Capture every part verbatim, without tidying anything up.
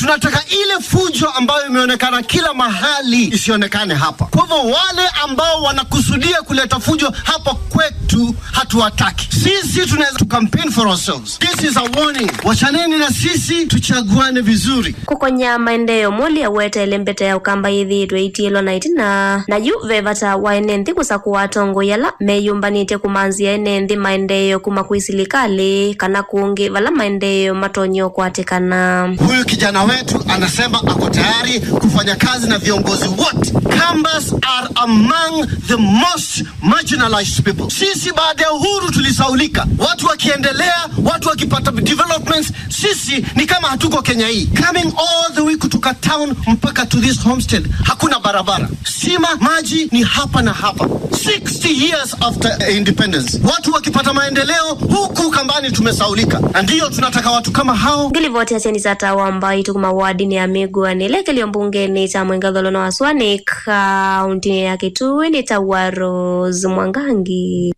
Tunataka ile fujo ambayo imeonekana kila mahali isionekane hapa. Kwa hivyo wale ambao wanakusudia kuleta fujo hapa kwetu hatuwataki. Sisi tunaweza to campaign for ourselves. This is a warning. Wachaneni na sisi, tuchaguane vizuri. Kũkonya maendeeo, Moli aweteele mbete ya Ũkamba yĩthĩĩtwe ĩtiĩlwa na ĩtina, na yu ve vata wa ene nthĩ kũsakũa atongoi ala meyũmbanĩtye kũmanzĩa ene nthĩ maendeeo kuma kwĩ silikalĩ kana kũngĩ vala maendeeo matonya ũkwatĩkana. Huyu kijana wetu anasema ako tayari kufanya kazi na viongozi wote. Kambas are among the most marginalized people. Sisi baada ya uhuru tulisaulika. Watu wakiendelea, watu wakipata developments, sisi ni kama hatuko Kenya hii. Coming all the way kutoka town mpaka to this homestead, hakuna barabara. Stima, maji ni hapa na hapa. Sixty years after independence, watu wakipata maendeleo, huku Kambani tumesaulika. Na ndiyo tunataka watu kama hao. Ngilivoti ya Chenisa Tawa Mbaitũ kuma wadinĩ ya Mĩgũanĩ, ĩla ĩkĩlyo mbungenĩ kya Mwenge Ũtholono wa Sua nĩ kaũntĩnĩ ya Kitui, nĩ ta wa Rose Mwangangi.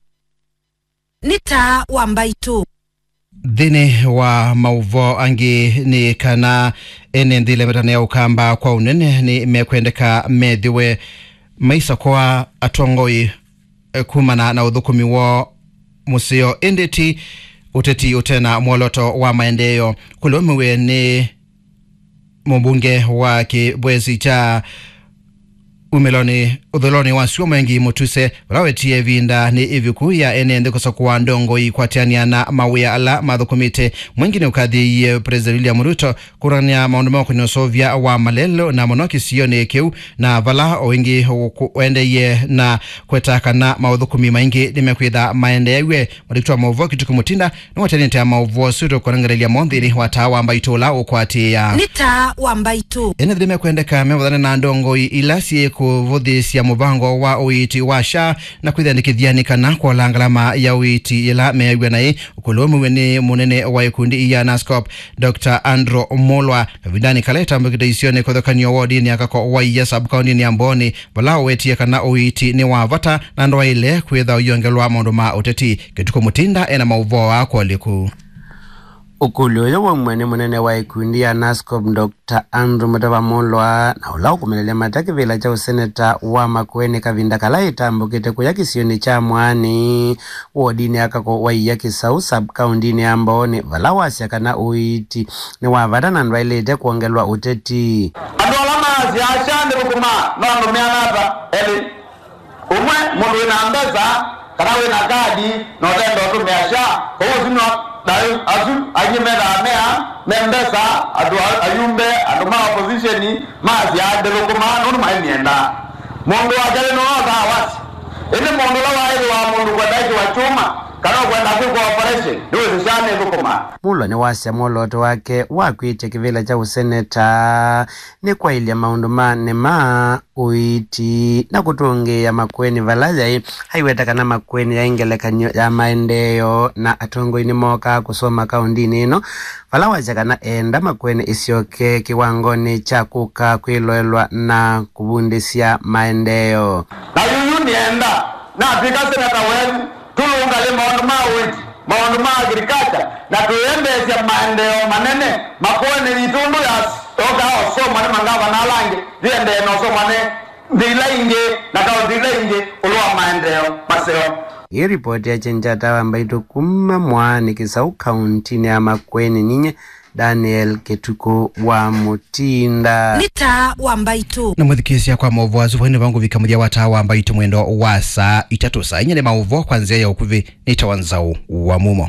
Nĩ Taa wa Mbaitũ. Nthĩnĩ wa maũvoo angĩ nĩ kana ene nthĩ ĩla ĩmetanĩa Ũkamba kwa ũnene nĩ mekwendeka methĩwe maisakũa atongoi, eh, kumana na ũthũkũmi woo mũseo, ĩndĩ ti ũteti ũte na mwolooto wa maendeeo. Kũlũmĩwe nĩ mũmbunge wa kĩvwesi kya umĩlonĩ ũthũlonĩ wa Sua Mwengi Mũtuse, ũla wetie ĩvinda nĩ ĩvuku ya ene nthĩ kũsakũa ndongoi kwatĩanĩa na mawĩa ala mathũkũmĩte. Mwengi nĩ ũkathĩĩie President William Ruto kũrũngamĩa maũndũ ma ũkũnĩa ũseũvya wa malelũ na mũno kĩsionĩ kĩu, na vala o ĩngĩ ũkũ-, ũendeeie na kweta kana maũthũkũmi maingĩ nĩmekwĩtha maendeew'e. Mũndĩki wa maũvoo Kituku Mutinda nĩwatanĩte maũvoo ũsu tũkũnengerelya mo nthĩnĩ wa Taa wa Mbaitũ ũla ũkwatĩĩa. Nĩ Taa wa Mbaitũ. Ene nthĩ nĩmekwendeka mevathane na ndongoi ila syĩ kũvũthĩĩsya mũvango wa ũiiti wa SHA na kwĩthĩanĩkĩthya nĩ kana kwola ngalama ya ũiiti yĩla meew'a naĩ. Ũkũlũmĩwe nĩ mũnene wa ikundi ya NASCOP, Doctor Andrew Mulwa, kavindanĩ kala ĩtambũkĩte isionĩ kũthũkanio wodinĩ ya Kako Waia sub-county-nĩ ya Mbooni, vala ũwetie kana ũiiti nĩ wa vata na ndwaĩle kwĩtha ũyongelwa maũndũ ma ũteti. Kĩtukũ Mutinda ena maũvoo aa kwolĩ kũu. Ũkũlyo ũyũ waumw'a nĩ mũnene wa ikundi ya NASCOP, Doctor Andrew Mũtava Mũlwa, na ũla ũkũmĩlelya mata kĩvĩla kya ũseneta wa Makueni kavinda kala ĩtambũkĩte kũya kĩsionĩ kya Mwaani, wodinĩ ya Kako Waia Kĩsaũ, sub-county-nĩ ya Mbooni, vala wasya kana ũiiti nĩ wa vata na ndwaĩlĩte kwongelwa ũteti. Andũ ala maasyaa SHA ndĩthũkũmaa no ndũmĩane ata elĩ? Ũmwe, mũndũ wĩ na mbesa kana wĩ na kadi na ũtenda ũtũmĩa SHA, kwoou ũsu nĩ wa, na asu angĩ methaa mea me mbesa, andũ a-, ayumbe, andũ ma opposition, maasyaa ndĩthũkũmaa nũndũ maimĩendaa. Mũndũ wa kelĩ nĩwe osaa wasya. Ĩndĩ mũndũ ũla waĩthĩwa mũndũ kwenda ĩkĩwa kyũma kana ũkwenda kwĩkwa operation, nĩwĩsĩ SHA nĩthũkũmaa. Mulwa nĩwasya mwolooto wake wa kwĩtya kĩvĩla kya ũseneta nĩ kwaĩlya maũndũ ma nĩma, ũiiti, na kũtũngĩĩa Makueni vala yaĩ. Aiweta kana Makueni yaĩ ngelekany'o ya maendeeo, na atongoi nĩmookaa kũsoma kaũndinĩ ĩno, vala wasya kana eenda Makueni ĩsyoke kĩwangonĩ kya kũka kwĩloelwa na kũvundĩsya maendeeo. Na yuyu nĩenda natw'ĩka seneta wenyu, tũlũngalye maũndũ ma ũiiti, maũndũ ma agriculture, na tũĩendeesya maendeeo manene Makueni yitũ ũndũ yas-, yookaa ũsomwa nĩ mangavana ala angĩ, yĩendee na ũsomwa nĩ nthĩ ila ingĩ na kaũntĩ ila ingĩ ĩũlũ wa maendeeo maseo. Ĩĩ ripoti ya Chenjata wa Mbaitũ kuma Mwaani Kĩsaũ, kaũntĩnĩ ya Makueni, ninyie Daniel Kĩtukũ wa Mũtinda. Nĩ Taa wa Mbaitũ. Na mũthikĩĩsya kwa maũvoo asu, vai nĩvo ngũvika mũthya wa Taa wa Mbaitũ mwendo wa saa itatũ. Saa inya nĩ maũvoo kwa nzĩa ya ũkuvĩ. Nĩtawa Nzaũ wa Mumo.